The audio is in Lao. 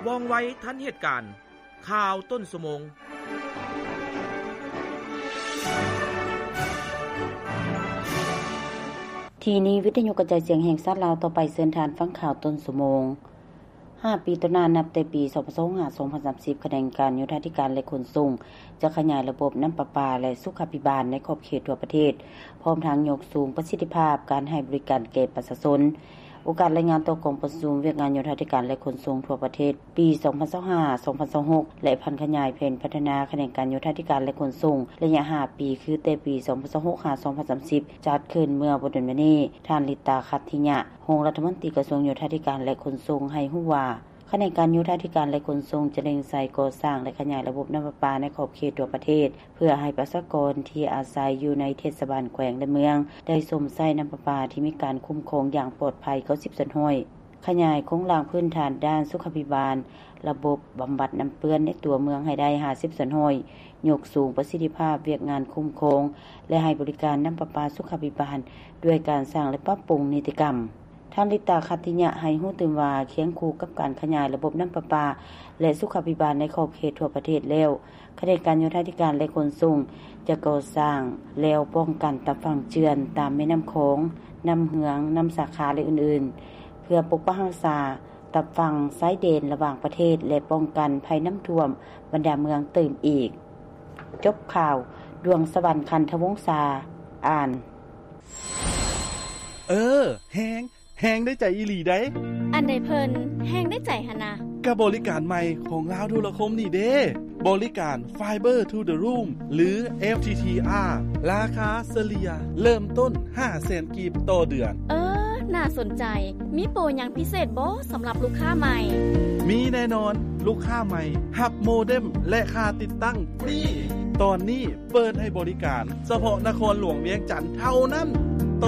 ວ່ອງໄວທັນເຫດການ. ຂ່າວຕົ້ນຊົ່ວໂມງ. ທີ່ນີ້ ວິທະຍຸກະຈາຍສຽງແຫ່ງຊາດລາວ. ຕໍ່ໄປເຊີນທ່ານຟັງຂ່າວຕົ້ນຊົ່ວໂມງ. ຫ້າປີຕໍ່ໜ້າ, ນັບແຕ່ປີສອງພັນຊາວຫົກ ຫາ ສອງພັນສາມສິບ, ຂະແໜງການໂຍທາທິການ ແລະ ຂົນສົ່ງ ຈະຂະຫຍາຍລະບົບນ້ຳປະປາ ແລະ ສຸຂາພິບານໃນຂອບເຂດທົ່ວປະເທດ, ພ້ອມທັງຍົກສູງປະສິດທິພາບການໃຫ້ບໍລິການແກ່ປະຊາຊົນ. ໂອກາດລາຍງານຕໍ່ກອງປະຊຸມວຽກງານໂຍທາທິການ ແລະ ຂົນສົ່ງທົ່ວປະເທດ ປີສອງພັນຊາວຫ້າ ສອງພັນຊາວຫົກ ແລະ ຜັນຂະຫຍາຍແຜນພັດທະນາຂະແໜງການໂຍທາທິການ ແລະ ຂົນສົ່ງ ໄລຍະຫ້າປີ ຄືແຕ່ປີສອງພັນຊາວຫົກ ຫາ ສອງພັນສາມສິບ ຈັດຂຶ້ນເມື່ອບໍ່ດົນມານີ້, ທ່ານ ລິຕາ ຂັດທິຍະ ຮອງລັດຖະມົນຕີກະຊວງໂຍທາທິການ ແລະ ຂົນສົ່ງ ໃຫ້ຮູ້ວ່າ ຂະແໜງການໂຍທາທິການ ແລະ ຂົນສົ່ງ ຈະເລັ່ງໃສ່ກໍ່ສ້າງ ແລະ ຂະຫຍາຍລະບົບນ້ຳປະປາໃນຂອບເຂດທົ່ວປະເທດ ເພື່ອໃຫ້ປະຊາກອນທີ່ອາໄສຢູ່ໃນເທດສະບານແຂວງ ແລະ ເມືອງ ໄດ້ຊົມໃຊ້ນ້ຳປະປາທີ່ມີການຄຸ້ມຄອງຢ່າງປອດໄພ ເກົ້າສິບສ່ວນຮ້ອຍ, ຂະຫຍາຍໂຄງລ່າງພື້ນຖານດ້ານສຸຂາພິບານ, ລະບົບບຳບັດນ້ຳເປື້ອນໃນຕົວເມືອງໃຫ້ໄດ້ ຫ້າສິບສ່ວນຮ້ອຍ, ຍົກສູງປະສິດທິພາບວຽກງານຄຸ້ມຄອງ ແລະ ໃຫ້ບໍລິການນ້ຳປະປາສຸຂາພິບານ ດ້ວຍການສ້າງ ແລະ ປັບປຸງນິຕິກຳ. ທ່ານ ລິຕາ ຂັດທິຍະ ໃຫ້ຮູ້ຕື່ມວ່າ ຄຽງຄູ່ກັບການຂະຫຍາຍລະບົບນ້ຳປະປາ ແລະ ສຸຂາພິບານໃນຂອບເຂດທົ່ວປະເທດແລ້ວ, ຂະແໜງການໂຍທາທິການ ແລະ ຂົນສົ່ງ ຈະກໍ່ສ້າງແລວປ້ອງກັນຕາຝັ່ງເຈື່ອນຕາມແມ່ນ້ຳຂອງ, ນ້ຳເຫືອງ, ນ້ຳສາຂາ ແລະ ອື່ນໆ ເພື່ອປົກປັກຮັກສາຕາຝັ່ງຊາຍແດນລະຫວ່າງປະເທດ ແລະ ປ້ອງກັນໄພນ້ຳຖ້ວມບັນດາເມືອງຕື່ມອີກ. ຈົບຂ່າວ. ດວງສະຫວັນ ຂັນທະວົງສາ ອ່ານ. ເອີ ແຮງ ແຮງໄດ້ໃຈອີ່ຫຼີໃດ໋. ອັນໃດເພິ່ນແຮງໄດ້ໃຈຫັ້ນນະ? ກະບໍລິການໃໝ່ຂອງລາວໂທລະຄົມນີ້ເດ້ ບໍລິການ Fiber to the Room ຫຼື FTTR ລາຄາສະເລ່ຍເລີ່ມຕົ້ນຫ້າແສນກີບຕໍ່ເດືອນ. ເອີ ໜ້າສົນໃຈ. ມີໂປຫຍັງພິເສດບໍ່ສຳລັບລູກຄ້າໃໝ່? ມີແນ່ນອນ, ລູກຄ້າໃໝ່ຮັບໂມເດັມ ແລະ ຄ່າຕິດຕັ້ງຟຣີ. ຕອນນີ້ເປີດໃຫ້ບໍລິການສະເພາະນະຄອນຫຼວງວຽງຈັນເທົ່ານັ້ນ.